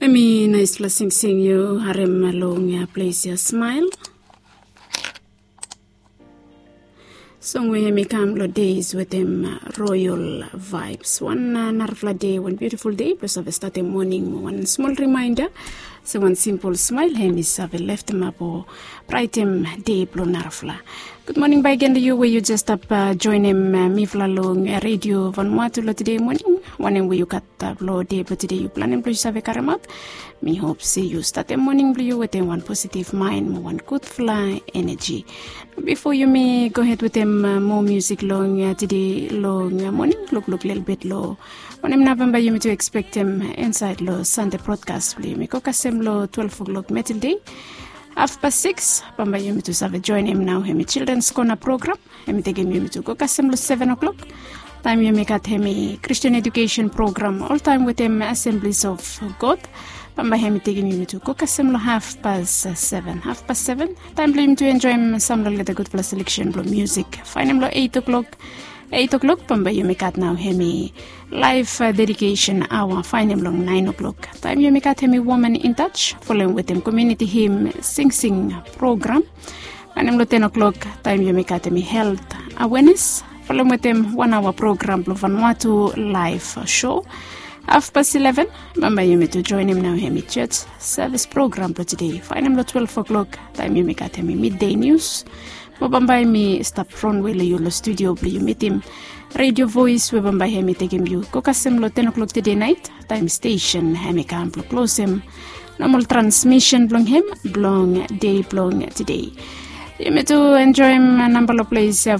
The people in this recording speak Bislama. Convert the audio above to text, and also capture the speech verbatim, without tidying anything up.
Em i naispela singsing yu harem long ples ya, Smile. Song we em i kam long Days wetem Royal Vibes. Wan narafala de, wan biutiful de blong save statem moning mo wan smol rimainda se wan simpol smael em i save leftemap o braitem de blong narafala. Gud moning bakegen long yu we yu jes stap joenem mifala long redio Vanuatu long tede moning. Wanem we yu gat blong de blong tede yu planem blong yu save karemaot. Mi hop se yu statem moning blong yu wetem wan positiv maen mo wan gudfala eneji. Bifo yumi gohed wetem moa musik long tede long moning, lukluk lelebet long wanem nao bambae yumi tu ekspektem insaed long Sande brodkas blong yumi go kasem long twelef o'klok metel de. Hafpas sikis bambae yumi tu save joenem nao hemi Childrens Kona program. Hemi tekem yumi tu go kasem long seven o'klok. Taem yumi gat hemi Christian Education program oltaem wetem Assemblies of God. Bambae hemi tekem yumi tu go kasem long hafpas seven. Hafpas seven taem blong yumi tu enjoem sam long leta gudfala seleksen blong musik. Faenem long eight o'klok. Eight o'klok bambae yumi gat nao hemi laef dedikesen aoa. Faenem long naen o'klok taem yumi gat hemi Woman in Touch folem wetem komiuniti him singsing program. Wanem long ten o'klok taem yumi gat hemi helt awenes folem wetem wan aoa program blong Vanuatu laef show. Hafpas eleven bambae yumi tu joenem nao hemi jos sevis program blong tede. Faenem long twelef o'klok taem yumi gat hemi midde nius. Mo bambae mi stap fronwe long yu long studio blong yu mitim redio voes we bambae hemi tekem yu go kasem long ten o'klok tede naet taem stesen hemi kam blong klosem nomol transmisen blong hem blong de blong tede. Yumi tu enjoem namba long ples ya